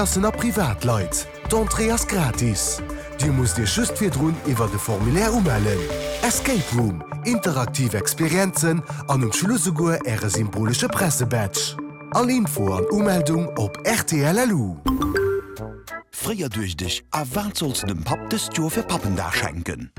Klassen a Privatleit. D'Entrée ass gratis. Dir musst Iech just virdrun iwwert e Formulaire umellen. Escape Room, interaktiv Experienzen an um Schluss esouguer Äre symbolesche Pressebadge. All Info an Umeldung op rtl.lu. Fréier duecht ech, A wat solls de dem Papp dëst Joer fir Pappendag schenken?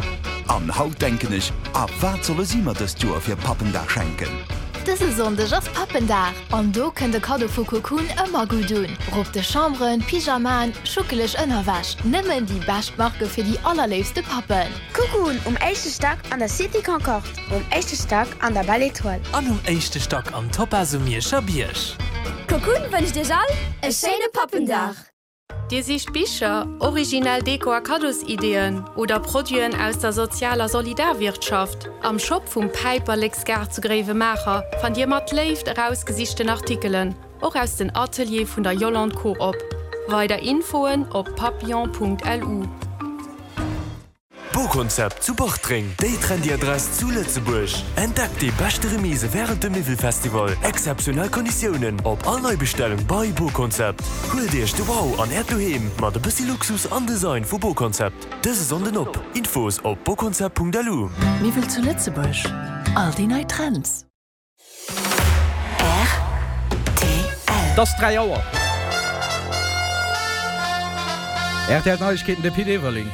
An haut denken ech, A wat solle si mer dëst Joer fir Pappendag schenken? Dëse Sonndeg ass Pappendag an do kënnt e Kaddo vu Cocoon ëmmer gutt un. Ropte Chamberen, Pyjamaen, schuckeleg Ënnerwäsch, nëmmen déi bescht Marke fir déi allerléifste Pappen. Cocoon um éischte Stack an der Cité Concorde, um éischte Stack an der Belle Etoile. An um éischte Stack am Topaz um Mierscher Bierg. Cocoon wënscht iech all e schéine Pappendag! Dir sicht Bicher, originell Deko a Kaddosideeën oder Produiten aus der Sozial a Solidarwirtschaft? Am Shop vum Päiperleksgaart zu Gréiwemaacher fannt Dir mat Léift erausgesichten Artikelen, och aus den Ateliere vun der Yolande Coop. Weider Infoen op papillon.lu. Bokonzept zu Bartreng, déi trendy Adress zu Lëtzebuerg. Entdeckt déi beschte Remise wärend dem Miwwelfestival. Exzeptionell Konditiounen op all Neibestellung bei Bokonzept. Huelt Iech de Wow an Äert Doheem mat e bëssi Luxus an Design vu Bokonzept. Dëse Sonnden op! Infos op bokonzept.lu. Miwwel zu Lëtzebuerg, all déi nei Trends. Et ass 3 Auer. Rtl Neiegkeeten, de Pit Everling.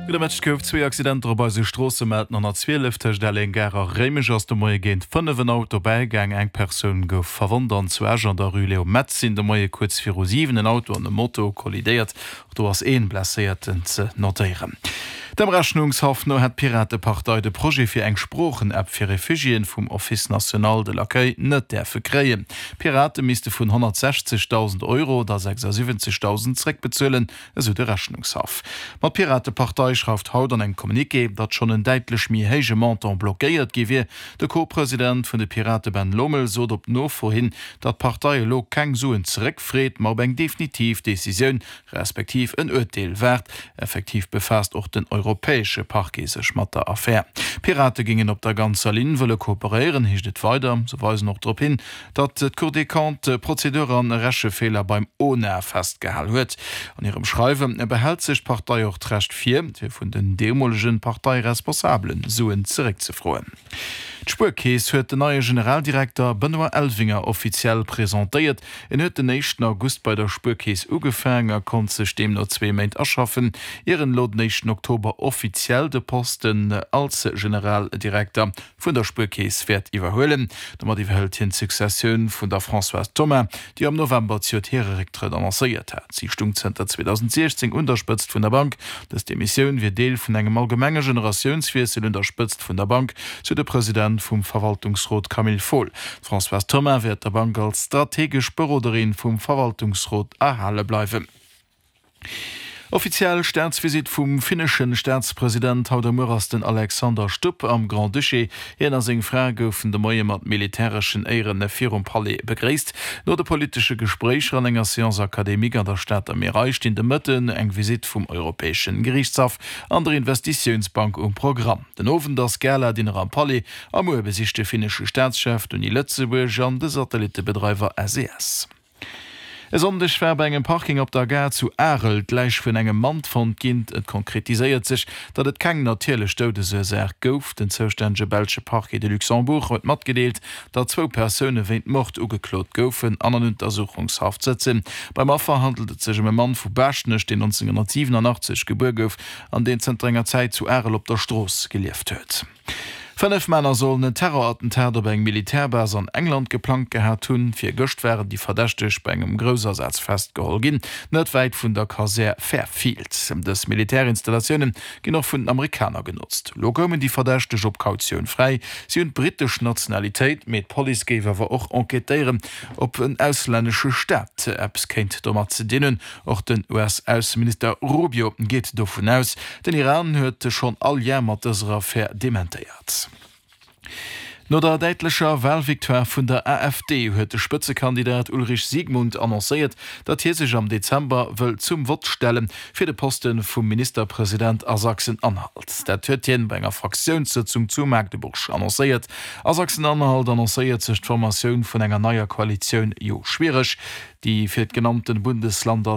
Gudde Mëtteg. Et gouf zwee Accidenter op eise Stroosse melden. An der 12 tëscht Elleng Gare a Réimech ass de Moie géint 5 en Auto bäigaang. Eng Persoun gouf verwonnt. An zu Esch an der Rue Léo Metz sinn de Moie kuerz viru 7 en Auto an e Moto kollidéiert. Och do ass een Blesséierten ze notéieren. Dem Rechnungshaff no hätt d'Piratepartei de Projet fir eng Sproochen-App fir Refugiéen vum Office national de l'accueil net däerfe kréien. D'Pirate misste vun 160.000 Euro der 76.000 zréckbezuelen, esou de Rechnungshaff. Ma d'Piratepartei schreift haut an engem Communiqué, datt schonn en däitlech méi héije Montant blockéiert gi wier. De Co-President vun de Pirate Ben Lomel sot op Nofro hin, datt d'Partei elo keng Suen zeréckfreet, ma op eng definitiv Decisioun, respektiv en Urteel waart. Effektiv befaasst och den europäesche Parquet sech mat der Affär. D'Pirate géingen op der ganzer Linn wëlle kooperéieren, heescht et weider. Se weisen och drop hin, datt d'Cour des Comptes Prozedur an Rechefeeler beim ONA festgehal huet. An hirem Schreiwe behält sech d'Partei och d'Recht vir, fir vun den deemolege Parteiresponsabele Suen zeréckzefroen. D'Spuerkeess huet den neie Generaldirekter Benoît Elvinger offiziell presentéiert. En huet den éischten August bei der Spuerkeess ugefaang a konnt sech deemno zwee Méint aschaffen, ier en elo den éischten Oktober offiziell de Posten als Generaldirekter vun der Spuerkeess wäert iwwerhuelen. Domat iwwerhëlt hien d'Successioun vun der Françoise Thomas, déi am November zejoert hire Récktrëtt annoncéiert hat. Si stung zënter 2016 un der Spëtzt vun der Bank. Dës Demissioun wier Deel vun engem allgemenge Generatiounswiessel un der Spëtzt vun der Bank, sou de President vum Verwaltungsrot Camille Fohl. D'Françoise Thomas wäert der Bank als strategesch Beroderin vum Verwaltungsrot erhale bleiwen. Offiziell Staatsvisitt vum finneschen Staatspresident. Haut a muer ass den Alexander Stubb am Grand-Duché. Hien a seng Fra goufen de Moie mat militäreschen Éieren virum Palais begréisst. No de politesche Gespréicher an enger Séance académique an der Stater Mierei stinn de Mëtten eng Visitt vum Europäeschen Geriichtshaff an der Investitiounsbank um Programm. Den Owend ass Gala-Dinner am Palais a muer besicht de finnesche Staatschef d'Uni Lëtzebuerg an de Satellittebedreiwer SES. E Sonndeg war bei engem Parking op der Gare zu Arel d'Läich vun engem Mann fonnt ginn. Et konkretiséiert sech, datt et keng natierlech Doudesursaach gouf. Den zoustännege belsche Parquet de Luxembourg huet matgedeelt, datt zwou Persoune wéint Mord ugeklot goufen an an Untersuchungshaft sëtzen. Beim Affer handelt et sech ëm e Mann vu Baaschtnech, deen 1987 gebuer gouf an deen zënter enger Zäit zu Arel op der Strooss gelieft huet. 5 Männer sollen en Terrorattentat op eng Militärbase an England geplangt gehat hunn. Virgëscht waren déi Verdächteg bei engem Groussasaz festgeholl ginn, net wäit vun der Kasär Fairfield. Dës Militärinstallatioune ginn och vun den Amerikaner genotzt. Elo koumen déi Verdächteg op Kautioun fräi. Si hunn d'brittesch Nationalitéit, mee d'Police géif awer och enquêtéieren, ob en auslännesche Staat eppes kéint domat ze dinn hunn. Och den US-Ausseminister Rubio geet dovun aus. Den Iran huet schonn all Lien mat dëser Affär dementéiert. No der däitlecher Walvictoire vun der AfD huet de Spëtzekandidat Ulrich Siegmund annoncéiert, datt hie sech am Dezember wëll zum Vott stelle fir de Poste vum Ministerpresident a Sachsen-Anhalt. Dat huet hien bei enger Fraktiounssëtzung zu Magdeburg annoncéiert. A Sachsen-Anhalt annoncéiert sech d'Formatioun vun enger neier Koalitioun jo schwiereg. déi fir d'genannten Bundesland als.